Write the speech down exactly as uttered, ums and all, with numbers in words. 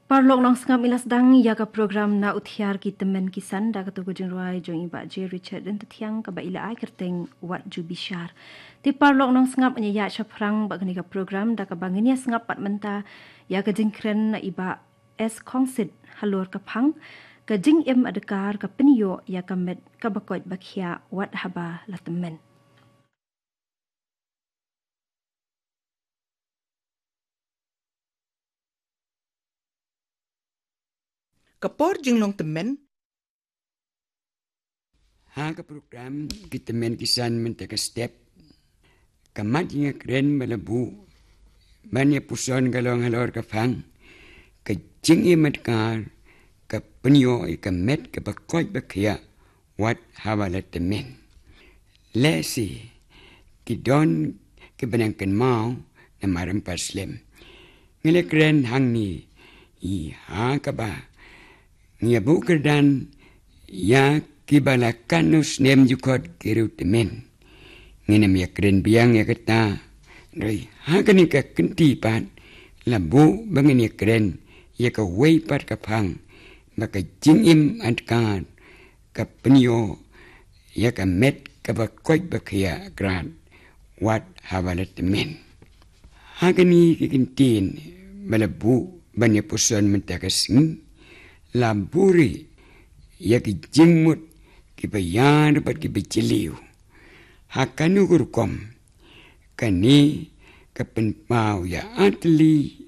Paralok nongsngap, i la sdang ïa ka program Na U Thiar ki Tymmen ki San da kato ka jingrwai jong i Bah J Richard Dyntathiang kaba i la ai kyrteng Wat Ju Bishar. Te paralok nongsngap, ngin ïa shaphrang bad kane ka program da kaba ngin ïa sngap pat mynta ïa ka jingkren na i Bah S Khongsit halor ka phang, ka jingim adkar ka pynïoh ïa ka met kaba koit ba khiah wat haba la tymmen. Ka por jinglong tymmen. Ha ka program ki tymmen ki san mynta ka step, ka mat ïa ka kren ba la buh ban ïa puson ka long halor ka phang, ka jingim adkar ka pynïoh ïa ka met kaba koit ba khiah wat haba la tymmen. Lehse ki don kiba nang kynmaw namar ym pat slem. Ngi la kren hangne ïa kaba ngi ïa buh kyrdan ïa kiba la katno snem jukut ki riew tymmen. Ngin ym ïa kren biang ïa kata, hynrei ha kane ka kynti pat la buh ba ngin ïa kren ïa kawei pat ka phang, ba ka jingim adkar ka pynïoh ïa ka met kaba koit ba khiah krad wat haba la tymmen. Ha kane ka kyntien ba la buh ban ïa puson mynta ka sngi, la buh ruh ïa ki jingmut kiba ïar bad kiba jylliew. Ha kano ka rukom, kane ka pynpaw ïa artylli